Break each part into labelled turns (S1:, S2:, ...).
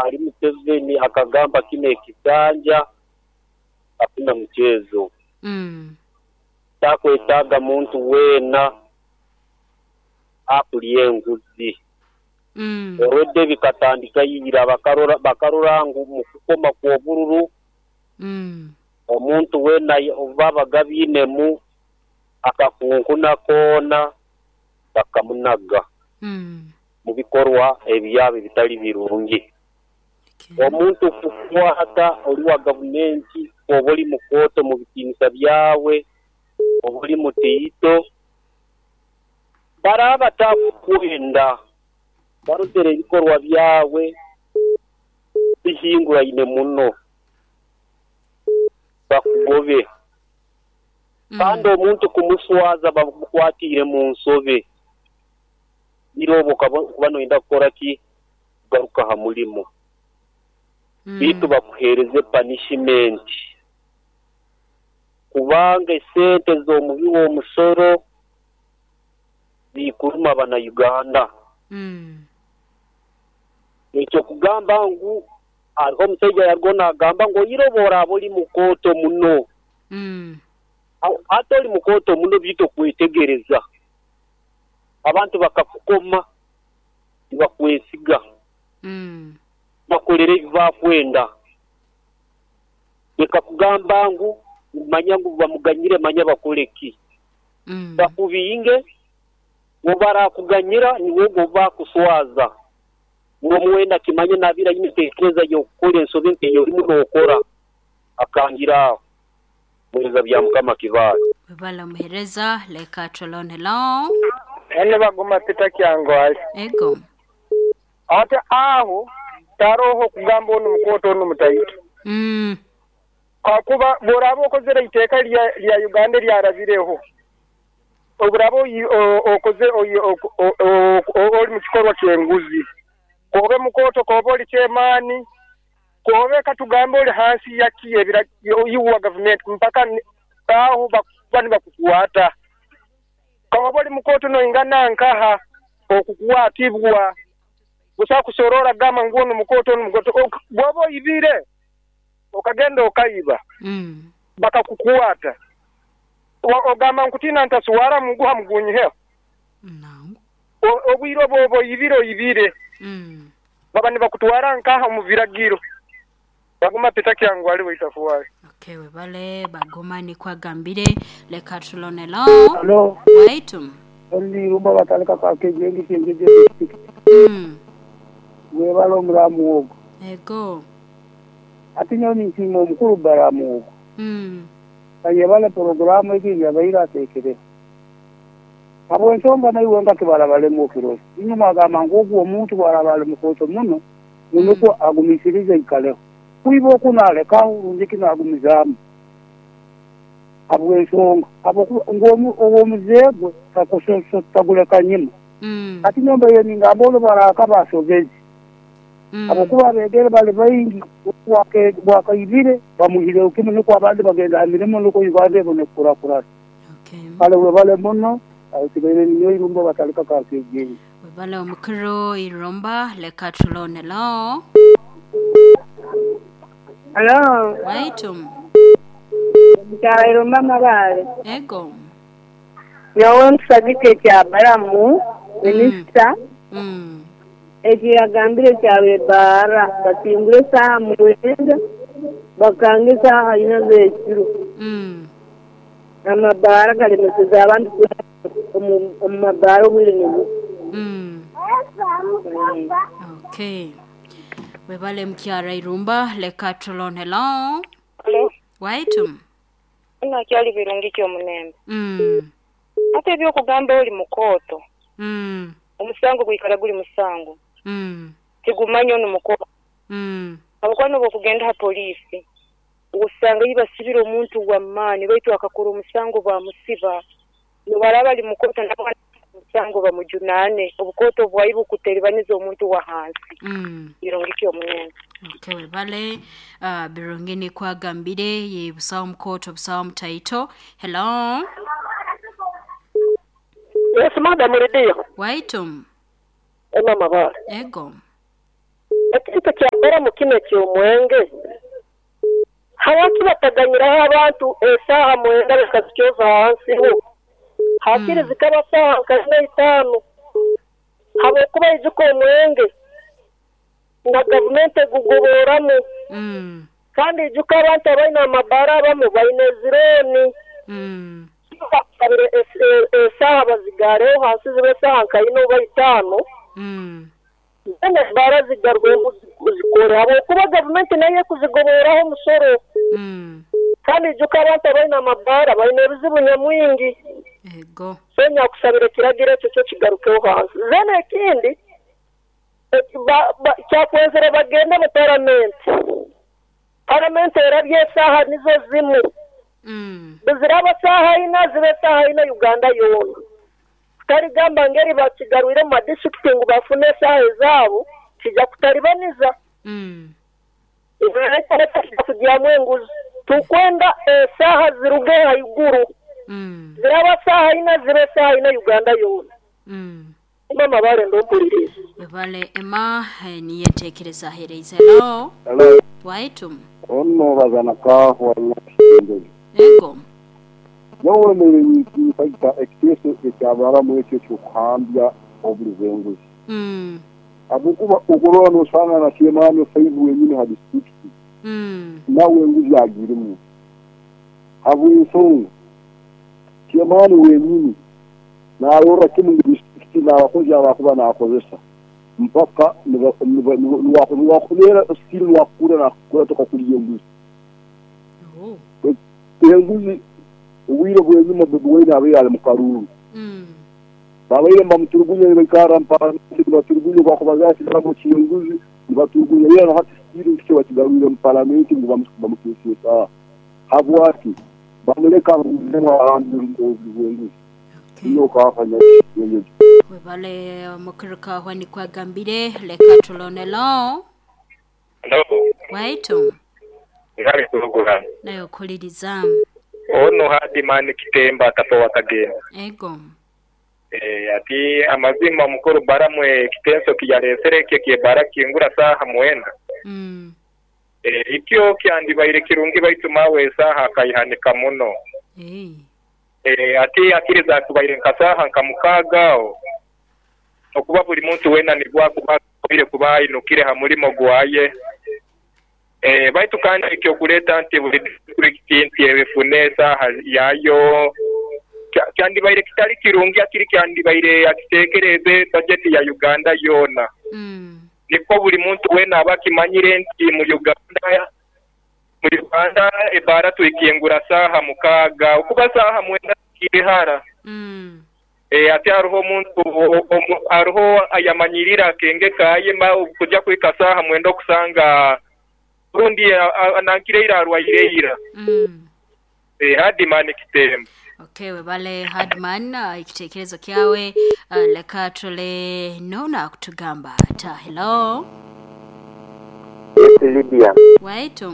S1: hali Museveni akagamba kino ekisanja hakuna mchezo. Takwetaaga muntu weena akulya enguzi. Already bikatandika ira bakarora ngu mukukoma kw'obururu omuntu weena obubabaga bainemu akakunkuna koona bakamunaga mu bikorwa ebyabo ebitali birungi. Omuntu kukwata oli wa gavumenti oba oli mukooto mu bitiinisa byawe, oba oli mutiito, baraaba batakukwenda barozere ebikorwa byawe bihinguraine muno bakugobe. Kandi omuntu kumuswaza bamukwatiire mu nsobe, ira obwo okuba noyenda kukora ki? Kugaruka ha murimo. Beitu bakuheereze panishimenti kubanga esente z'omubi w'omusoro zikuruma Abanauganda. Ekyo kugamba ngu hariho omusaija yarugaho naagamba ngu oire obu oraaba ori mukooto muno, hati ori mukooto muno beitu okwetegereza, abantu bakakukoma tibakwesiga, bakolere ebi bakwenda. Leka kugamba ngu manya ngu bamuganyire manya bakole ki. Bakubinge, obu barakuganyira niiwe ogwo ou bakuswaza. Buri omwe weena akimanye naabaire aine enteekereza y'okukora ensobi nk'ei orimu nookora, akangira aho. Muheereza Byamukama Kibaale.
S2: Webale omuhereza leka tulone hello.
S3: Ene Baguma Peter Kyangwali.
S2: Ego.
S3: Ate agho taroho kugamba onu mukooto onu mutaito. Kakuba bw'oraaba okozere eiteeka lya Uganda eryarabireho, oburaaba okoze oli mu kikorwa ky'enguzi, k'obe mukooto, k'obe oli chairman, k'obe katugambe oli hansi yaki iwe wa gavumenti mpaka agho bakuba nibakukwata. K'obe oli mukooto noingana nkaha okukwatibwa, busa kusorora kugamba ngu onu mukooto onu mukooto. Bw'oba oibire okagenda okaiba bakakukwata, ogamba nkutiina ntaswara muguha mugunyiheho? Obwire obwo oba oibire oibire, baba nibakutwara nkaha omu biragiro. Baguma Peter Kyangwali Waitafuwali.
S2: Okay webale Baguma nikwo agambire leka tulone lo
S4: Halo,
S2: waitu.
S4: Ndi Irumba Batalika ka Kejengi Kyenjeje District. Webale omuramu ogwo.
S2: Ego.
S4: Ati nyowe ninsiima omukulu Balamu ogwo. Ayebale puroguramu egi ei abaire ateekereho. Habw'ensonga naiwe nga tibarabalemu okirora. Inywe mwagamba ngu ogu omuntu bwaraaba ali mukooto muno, ngu nukwo agumiisirize aikaleho. Kwiba oku naalekaho rundi ki naagumizaamu? Habw'ensonga habwokuba ngu ow'omuze gwe taguleka nyima. Hati nyowe mbaire ningamba onu bwaraakaba asobeze habwokuba abeegere bali baingi bwakaibire bamwihireho kimu nukwo abandi bagenda ha mirimo nukwo Uganda ebone kukurakurana. Kale webale muno, asigaire ninyowe Irumba Batalika ka KJ.
S2: Webale omukuru Irumba leka tulone lo.
S5: Halo.
S2: Waitu.
S5: Mukyala Irumba Mabaale.
S2: Ego.
S5: Nyowe nkusagika ekya Balamu minisita ekyo yagambire ekya b'ebbaara bakingura esaaha mwenda bakanga esaaha ina z'ekiro. Amabaara galemeseze abantu kwenda omu mabaara obwire nibukya.
S2: Okay. Webale mukyara Irumba leka tulone. Hello.
S6: Halo.
S2: Waitu.
S6: Ono akyali birungi ki omulembe? Ate eby'okugamba oli mukooto, omusango gwikara guli musango, tigumanya onu mukooto. Habwokuba n'obwokugenda ha poliisi, osanga yi basibire omuntu wa maani baitu akakora omusango baamusiba. N'obwaraaba ali mukooto nabwo omusango bamujunaane. Obukooto bwaibwe kuteribaniza omuntu wa hansi. Birungi ki omulembe?
S2: Okay, webale Birungi nikwo agambire ye busawo mukooto busawo mutaito. Hello.
S7: Yes madam Lydia.
S2: Waitu.
S7: Emma Mabaale.
S2: Ego.
S7: Ekintu
S5: Ekintu kya Baramu kinu eky'omwenge, habwaki bataganyiraho abantu esaaha mwenda bakazikyoza hansi ho? Hakiri zikaba saaha nka ina itaano, habwokuba ijuka omwenge na gavumenti egugoboramu. Kandi ijuka abantu abaine amabaara abamu baine ezirooni. Bakusabire esaaha bazigaareho hansi zibe esaaha nka ina oba itaano, then ebaara zigarwemu zikore habwokuba gavumenti nayo ekuzigoboraho omusoro. Kandi ijuka abantu abaine amabaara baine ebizibu nyamwingi.
S2: Ego.
S5: So nyakusabira ekiragiro ekyo kyo kigarukeho hansi. Then ekindi, kyakwenzere bagende mu paramenti. Paramenti erabye esaaha nizo zimu. Buziraba saaha ina, zibe esaaha ina Uganda yoona. Kutarigamba ngeri bakigarwire mu madisiturikiti ngu bafune esaaha ezaabo, kija kutaribaniza. Kija kugyamu enguzi. Tukwenda esaaha ziruge haiguru. Ziraba saaha ina, zibe esaaha ina Uganda yoona. Emma Mabare ndompuliriza.
S2: Webale Emma, niyo entekereza aheereize. Hello.
S7: Hello.
S2: Waitu.
S7: Ono bazana kahwa nyakisembezi.
S2: Ego.
S7: Nyowe nirita ekiteeso ekyabaramu ekyo ekyokuhambya obuli bw'enguzi. Habwokuba okurora nosanga na chairman 5 wenyini ha district. Nawe enguzi agirimu. Habw'ensonga chairman wenyini narora kimu ngu district n'abakozi abakuba nakozesa mpaka niwakubeera still niwakukura nakukura tokakulya enguzi. Enguzi obwire bw'enyuma Bobi Wine abaire ali mu karuuru. Babaire nibamuturugunya nibaikara mu paramenti nibaturugunya bakubaza ati nabo ky'enguzi nibaturugunya era na hati still nikyo bakigarwire mu paramenti ngu bamukyusye esaaha. Habwaki bamuleka ahandi obuli bw'enguzi.
S2: Webale mukirika nikwagambire leka tulonelo.
S8: Hello.
S2: Waitu.
S8: Ngale kulugula.
S2: Nayo kuliriza.
S8: Ono Hadiman Kitemba kasowa kagenda.
S2: Ego.
S8: Ati amazima mukuru baramwe kitenso kiyaresere kye kebara kingura saha mwenda. Ikyo kyandibaire kirungi baitu mawe saha kaihanika muno. Ati akiriza kubaire nkasaha nkamukagao. Okuba buli muntu wena nigwa kuba kuba inukire ha mulimo gwaye. Baitu kandi ekyo kuleta nti buli district nti ebifune saha yayo kyandibaire kitali kirungi akiri kyandibaire akitekereze budget ya Uganda yona. Niko buli muntu wena abakimanyire nti mu Uganda ebara tuikingura saha mukaga okuba saha mwenda kirihara. Ati hariho omuntu hariho ayamanyirira kenge kaye kujya kwika saha mwenda okusanga rundi anankire arwaire. Hardman Kitemba.
S2: Okay, webale Hardman, ekitekerezo kyawe leka tule nona kutugamba ata. Hello.
S9: Yes, Lydia.
S2: Waitu.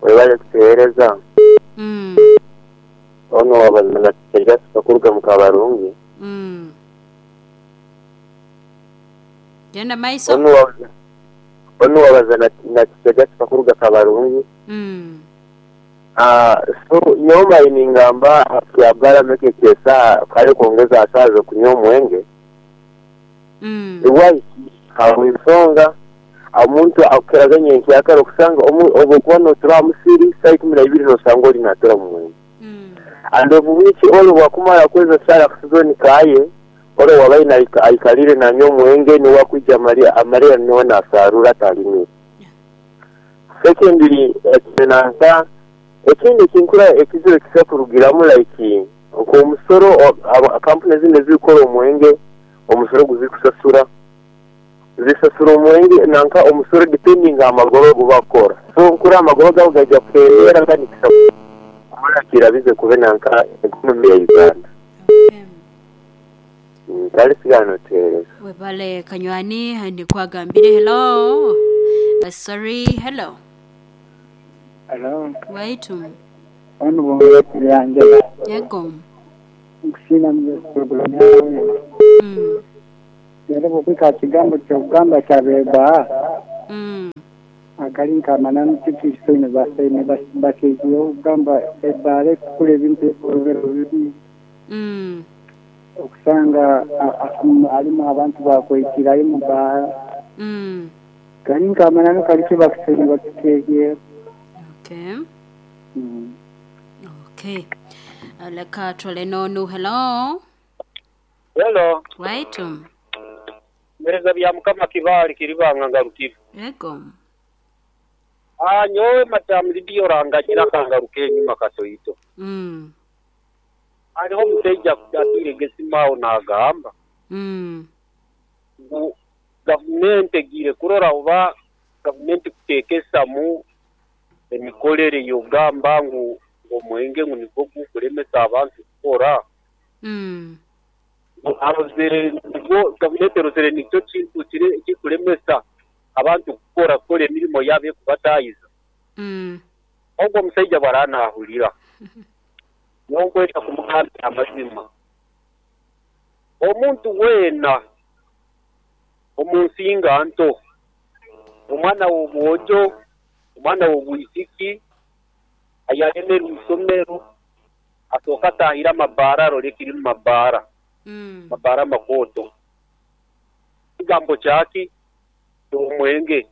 S9: Webale kutuhereza. Ono wabazana kijasi kuruga mukabarungi.
S2: Genda maiso.
S9: Ono wabazana na kijasi kuruga kabarungi. So nyoma iningamba ya bara meke kesa kale kuongeza asazo kunywa mwenge. Iwai hawensonga omuntu akeraganye nkyakara okusanga obukuba notura musiri saa 12 nosanga oli natura mwenge. And of which olo wakumara kweza sala kusizoni kaye olo wabaye na aikalire na nyo mwenge ni wakuja Maria Maria niwe na sarura talimire. Secondly ekinanka ekindi kinkura ekiziro kisakurugiramu like omusoro kampuni zine zikora omwenge omusoro guzikusasura zisasura omwenge nanka omusoro depending amagoro gubakora. So nkura amagoro gawo gajya kwera kandi kirabize kube nanka economy ya Uganda. Kali sigano tere.
S2: Webale kanywani nikwagambire. Hello. Sorry, hello.
S4: Hello.
S2: Waitu.
S4: Ono bongo yanjala.
S2: Yego.
S4: Nkusina mwe yawe. Rero bwika kigambo kyogamba kyabeba. Akali nk'amananu titusoine basaine bakeegireho kugamba ebbaara ekukora ebintu ebirobero bibi. Okusanga harimu abantu bakwitirayo mu bbaara. Kali nk'amananu kali kibakusaine bakikeegireho.
S2: Okay. Okay. Leka tule n'onu. Hello.
S1: Hello.
S2: Waitu.
S1: Mpereza bya Mukama Kibaale Kiribanga ngarukire.
S2: Ego.
S1: Ah, nyowe Madam Lydia oranganyira akangaruka enyuma katoito. Hariho omusaija atiire esimu aho naagamba ngu gavumenti egiire kurora oba gavumenti kuteekesamu emikorere y'okugamba ngu omwenge ngu nigwo gukulemesa abantu kukora. Ngu arozere nigwo gavumenti erozere nikyo kintu kiri ekikulemesa abantu kukora kukora emirimo yaabo ekubataahiza. Ogwo omusaija bw'araaba naahurira, nyowe nkwenda kumugambira amazima. Omuntu weena omu nsinga nto, omwana w'obwojo, omwana w'obwisiki ayalemerwe isomero, asooka ataahire amabaara arole ekiri mu mabaara, mabaara amakooto. Ekigambo kyaki? Ky'omwenge.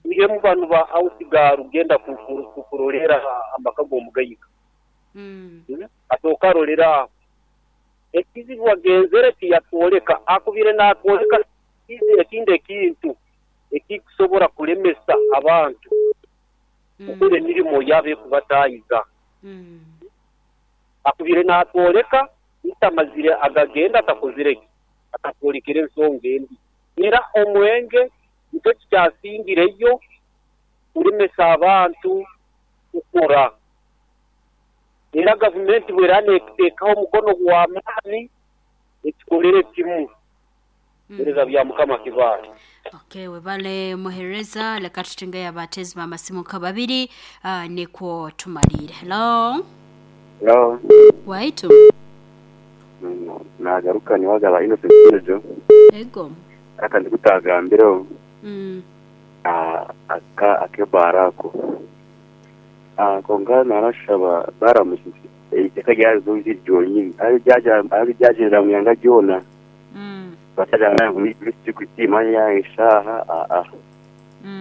S1: Twihemu banu ba house girl genda kuroleera amaka g'omugaiga. Asooka arolere aho. Ekizibu agenzere tiyatwoleka, akubire naatwoleka ekindi ekintu ekikusobora kulemesa abantu kukora emirimo yaabo ekubataahiza. Akubire naatwoleka baitu amazire agagenda atakozire ki? Atatwolekere ensonga endi. Era omwenge nikyo kikyasingireyo kulemesa abantu kukora. Era gavumenti bw'eraaba neekuteekaho omukono gw'amaani, ekikolere kimu. Mpereza bya Mukama Kibaale.
S2: Okay, webale muhereza leka tutengeyo abateezi b'amasimu nka babiri nikwo tumaliire. Hello.
S10: Hello.
S2: Waitu.
S10: Nagaruka niwagaba Innocent Jojo.
S2: Ego.
S10: Aka ndikutagambireho aka ak'ebaara ako. Kwonka narashaba baramusize eiteka ryarizo ryonyini aryagyenda mu ihanga ryona batagira ngu tikimanya eshaaha aa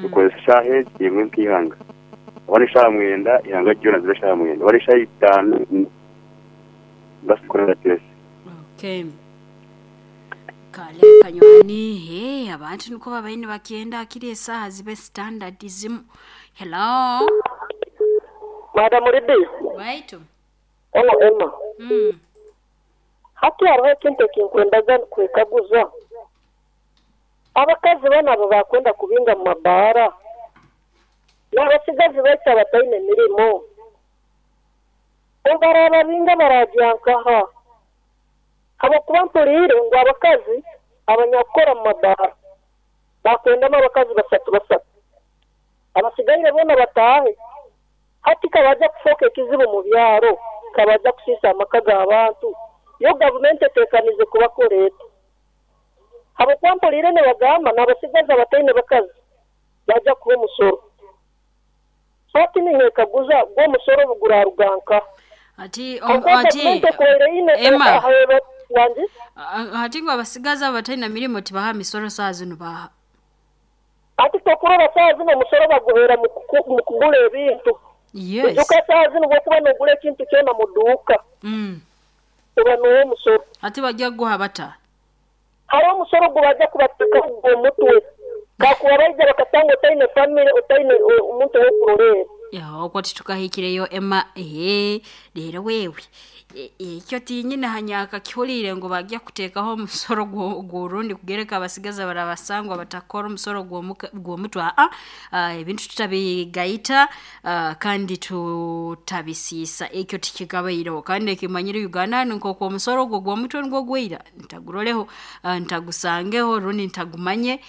S10: tukozesa eshaaha egi emwe nk'eihanga oba n'eshaaha 9 ihanga ryona zibe eshaaha 9 oba n'eshaaha 5 basikorera kyesi.
S2: Okay. Kale kanywani he abantu niko babaire nibakyenda akiri esaaha zibe standard zimu. Hello.
S5: Madam Lydia.
S2: Waitu.
S5: Ono Emma. Hati hariho ekintu ekinkwendaga kwekaguza. Abakazi banu abo bakwenda kubinga mu mabaara n'abasigazi baitu abataine mirimo obu baragya nkaha? Habwokuba mpuliire ngu abakazi abanyakukora mu mabaara bakwendamu abakazi basatu basatu, abasigaire boona bataahe. Hati kabaija kufooka ekizibu mu byaro, kabaija kusiisa amaka g'abantu. Yo gavumenti eteekanize kubakora eti. Habwokuba mpuliire nibagamba n'abasigazi abataine bakazi baija kuha omusoro. Hati ninyekaguza gwo omusoro obu guraruga nkaha?
S2: Ati
S5: Habwokuba
S2: ati
S5: gavumenti ekubaire eine
S2: Emma.
S5: Wangi?
S2: Hati ngu abasigazi abataine mirimo tibaha misoro saaha zinu baha.
S5: Ati tokurora saaha zinu omusoro baguheera mu kugura ebintu.
S2: Yes.
S5: Ijuka saaha zinu bw'okuba noogura ekintu kyona mu duuka. Oba n'oha omusoro.
S2: Ati bajja kuguha bata?
S5: Hariho omusoro ogu bajja kubateekaho ogw'omutwe. Kakuba baija bakasanga otaine famire, otaine omuntu ow'okuroleera.
S2: Okwo titukahikireyo Emma. Ehe, reero wewe ekyo tinyine hanyakakihuriire ngu bajja kuteekaho omusoro gw'orundi kugereka abasigazi abarabasangwa batakora omusoro gw'omutwe. Aa ebintu tutabigaita kandi tutabisiisa ekyo tikikabaireho kandi ekimanyire Uganda hanu nk'oku omusoro ogwo gw'omutwe nigwo gwaira ntaguroleho, ntagusangeho rundi ntagumanye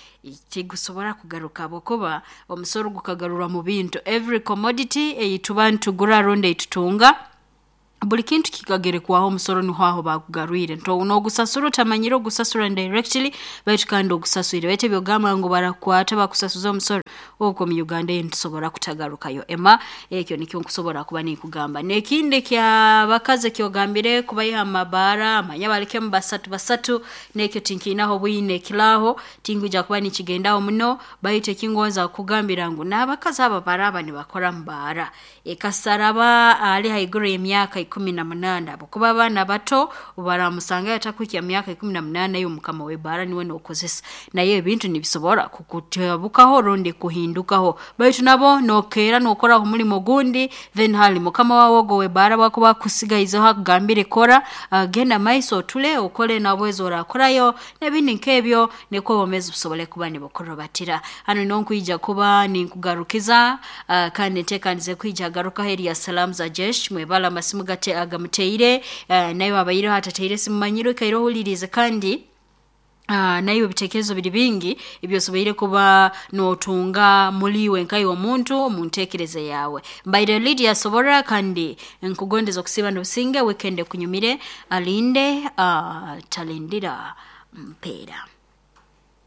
S2: tigusobora kugaruka habwokuba omusoro gukagarurwa mu bintu. Every commodity ei tuba nitugura rundi ei tutunga. Buli kintu kikagerekwaho omusoro, niho aho bakugarwire. N'ogusasura otamanyire ogusasura indirectly, baitu kandi ogusaswire. Baitu ebyogamba ngu barakukwata bakusasuza omusoro, okwo mu Uganda eyo nitusobora kutagarukayo. Emma, ekyo nikyo nkusobora kuba ninkugamba. N'ekindi kyabakazi ekyogambire kubaiha amabaara, manya balekemu basatu basatu, n'ekyo tinkiinaho bwine ekiraaho, tinkwija kuba nikigendaho muno, baitu ekingonza kukugambira ngu n'abakazi abo baraaba nibakora mu baara, ekasaraba ali haiguru y'emyaka 18, habwokuba abaana bato baramusangayo atakuhikya myaka 18, iwe mukama w'ebaara niwe n'okozesa. Naye ebintu nibisobora kukutabukaho rundi kuhindukaho. Baitu nabo nokeera nokoraho omulimo ogundi, then hali mukama wawe ogu ow'ebaara bwakuba akusigaizeho akugambire kora, genda maiso otule okole nabwezi orakorayo n'ebindi nk'ebyo, nikwo obwomeezi busobole kuba nibukurubatira. Hanu niho nkwija kuba ninkugarukiza, kandi nteekanize kwija garukaho erya Salamu za Jesh. Mwebale amasimu gate agamuteire, naiwe abaireho atateire simu manyire oikaire ohuliriize, kandi naiwe ebitekerezo biri bingi ebyosoboire kuba notunga muliiwe nkaiwe omuntu omu ntekereza yawe. Mbaire Lydia Soborra, kandi nkugondeza okusiiba n'obusinge, weekend ekunyumire, alinde talindira mpeera.